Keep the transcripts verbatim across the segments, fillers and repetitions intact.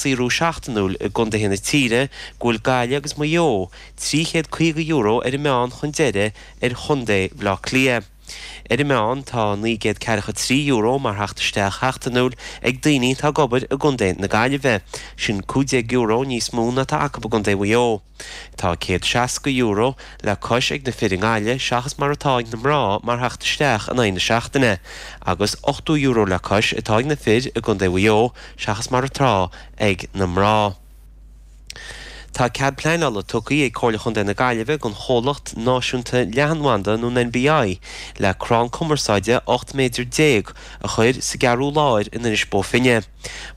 saothrú seachtainiúil i gcontaetha na tíre go bhfuil Gaillimh agus Maigh Eo trí chéad caoga euro ar an meán chun deiridh ar chontae Bhaile Átha Cliath. Ar an meán tá naoi gcéad ceathracha trí euro mar theacht isteach sheachtainiúil ag daoine atá ag obair i gcontae na Gaillimhe, sin cúig déag euro níos mó ná atá acu i gcontae Mhaigh Eo. Tá céad seasca euro le cois ag na fir i nGaillimh seachas mar atá ag na mná mar theacht isteach in aghaidh na seachtaine, agus ochtó euro le cois atá ag na fir i gcontae Mhaigh Eo seachas mar atá ag na mná. Tá cead pleanála tugtha ag Comhairle Chontae na Gaillimhe don chomhlacht náisiúnta leathanbhanda nó an NBI le crann cumarsáide ocht méadar déag a chur sa gCeathrú Láir in Inis Bó Finne.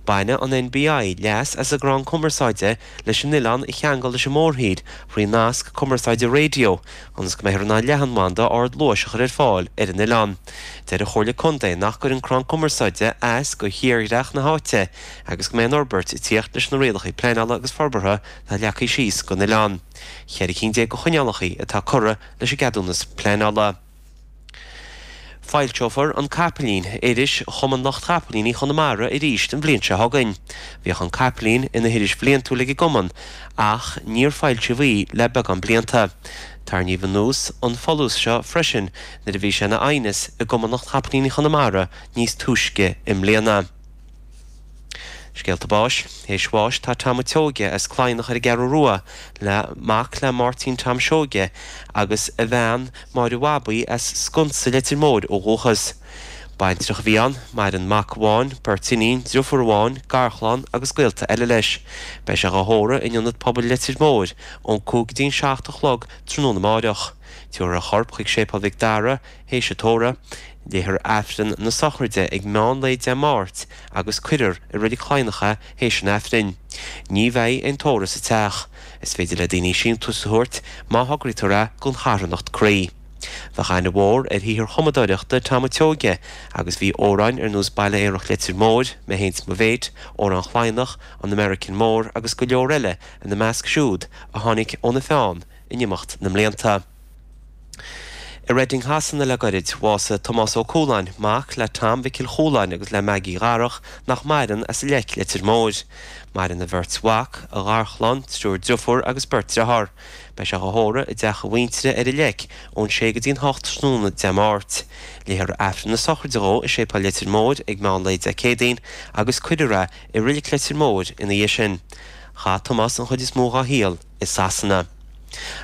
Bainfidh an NBI leas as an gcrann cumarsáide leis an oileán a cheangal leis an mórthír thrí nasc cumarsáide raidió ionas go mbeifear in ann leathanbhanda ardluais a chur ar fáil ar an oileán. Deir an Chomhairle Contae nach gcuireann crann cumarsáide as do thírdhreach na háite agus go mbeidh an fhorbairt ag tíocht leis na rialacha pleanála agus forbartha atá leagtha síos don oileán. Ceithre cinn déag de choinníollacha atá curtha leis an gceadúnas pleanála. Foilseofar An Capaillín, iris Chumann Lucht Chapaillíní Chonamara arís an bhliain seo chugainn. Bhíodh An Capaillín ina hiris bhliantúil ag an gcumann ach níor foilsíodh í le beagán blianta. Tarraingíodh anuas an folús seo freisin nuair a bhí sé ina aighneas i gCumann Lucht Chapaillíní Chonamara níos túisce i mbliana. Scéalta báis. Théis bháis tá Tom Ó Seoige as Cladhnach ar an gCeathrú Rua le mac le Máirtín Tom Seoige agus a bhean Máire Bhabaí as Sconsa Leitir Móir ó dhúchas. Baintreach a bhí ann, maireann mac amháin, beirt iníon, driofúr amháin, garchlann agus gaolta eile leis. Beidh sé á thórramh in Ionad Pobail Leitir Móir ón cúig go dtí an seacht a chlog tráthnóna amáireach. Tabharfar a chorp chuig Séipéal Mhic Dara théis an tórraimh. Léifear Aifreann na sochraide ag meán lae Dé Máirt agus cuirfear i Reilig Chladhnach é théis an Aifrinn. Ní bheidh aon tórramh sa teach. Is féidir le daoine síntiús a thabhairt má thograítear é don charthanacht Croí. Bheadh aithne mhór ar shaothar chumadóireachta Tom Ó Seoige agus bhí amhráin ar nós Baile Aerach Leitir Móir, Mé Féin 's Mo Mhéit, Amhrán Chladhnach, An American Mór agus go leor eile ina measc siúd a tháinig óna pheann in imeacht na mblianta. I Reading Shasana le gairid, bhásaigh Tomás Ó Cualáin, mac le Tom Mhicil Chualáin agus le Maggie Dharach nach maireann as an Leic Leitir Móir. Maireann a bheirt mhac, a gharchlann, triúr driofúr agus beirt dearthár. Beidh sé á thórramh i dteach a mhuintire ar an Leic ón sé go dtí an hocht tráthnóna Dé Máirt. Léifear Aifreann na sochraide dhó i Séipéal Leitir Móir ag meán lae Dé Céadaoin agus cuirfear é i Reilig Leitir Móir ina dhiaidh sin. Chaith Tomás an chuid is mó dá shaol i Sasana.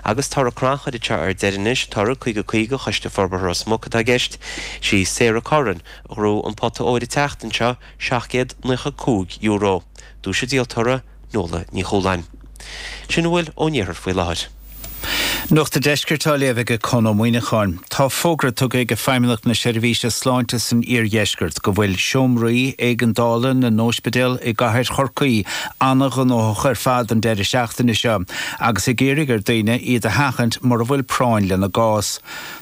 Agus toradh crannchuir anseo ar deireadh anois, toradh caoga caoga Choiste Forbartha Ros Muc atá i gceist. Sí Sarah Curran a ghnóthaigh an pota óir an tseachtain seo, seacht gcéad naocha cúig euro. Duais an díoltóra, Nuala Ní Chualáin. Sin a bhfuil ón iarthar faoi láthair. Nuacht an Deiscirt á léamh ag Conn Ó Muíneacháin. Tá fógra tugtha ag Feidhmeannacht na Seirbhíse Sláinte san iardheisceart go bhfuil seomraí éigeandála na n-ospidéal i gcathair Chorcaí an-ghnóthach ar fad an deireadh seachtaine seo agus ag iarraidh ar daoine iad a sheachaint mura bhfuil práinn lena gcás.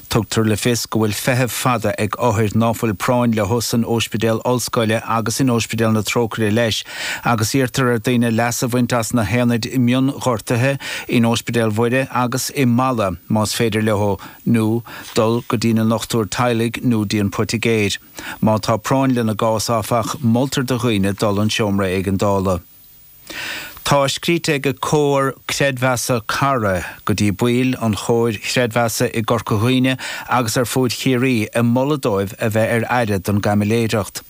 Tugtar le fios go bhfuil feithimh fada ag othair ná fuil práinn leo san Ospidéal Ollscoile agus in Ospidéal na Trócaire leis, agus iarrtar ar daoine leas a bhaint as na haonaid mionghortuithe in Ospidéal Mhuire agus i Mala más féidir leo nó dul go dtí na ndochtúir teaghlaigh nó dtí an poitigéir. Má tá práinn lena gcás áfach, moltar do dhaoine dul an seomra éigeandála. Tá scríte ag Comhar Creidmheasa Cara go dtí baill an Chomhair Chreidmheasa i gCorca Dhuibhne agus ar fud Chiarraí ag moladh dóibh a bheith ar aire don gcaimiléireacht.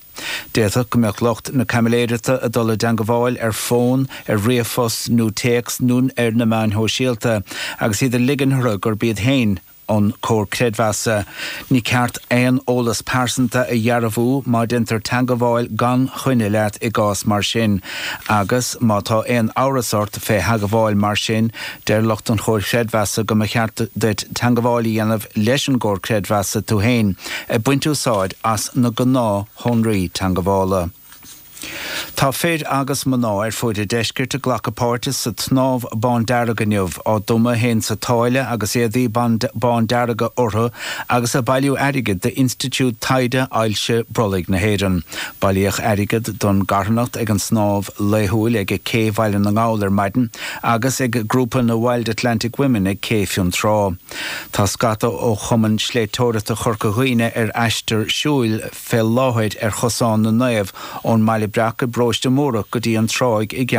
D'fhéadfadh go mbeadh lucht na caimiléireachta ag dul i dteangmháil ar fón, ar ríomhphost nó téacs nó ar na meáin shóisialta agus iad ag ligean orthu gurb iad féin an Comhar Creidmheasa. Ní ceart aon eolas pearsanta a dhearbhú má déantar teangmháil gan choinne leat i gcás mar sin, agus má tá aon amhras ort fé theagmháil mar sin, deir lucht an Chomhair Chreidmheasa go mba cheart duit teangmháil a dhéanamh leis an gComhar Creidmheasa tú féin, ag baint úsáid as na gnáthshonraí teangmhála. Tá fir agus mná ar fud an deiscirt ag glacadh páirte sa tsnámh bándearg inniu, á dtumadh féin sa tsáile agus éadaí bándearga orthu agus ag bailiú airgid d'Institiúid Taighde Ailse Brollaigh na hÉireann. Bailíodh airgead don gcarthanacht ag an snámh laethúil ag Cé Bhaile na nGall ar maidin agus ag grúpa na Wild Atlantic Women ag Cé Fionntrá. Tá scata ó Chumann Sléibhteoireachta Chorca Dhuibhne ar aistear siúil fé láthair ar Chosán na Naomh ón mBaile Breac i bparóiste Múrach go dtí an Tráigh i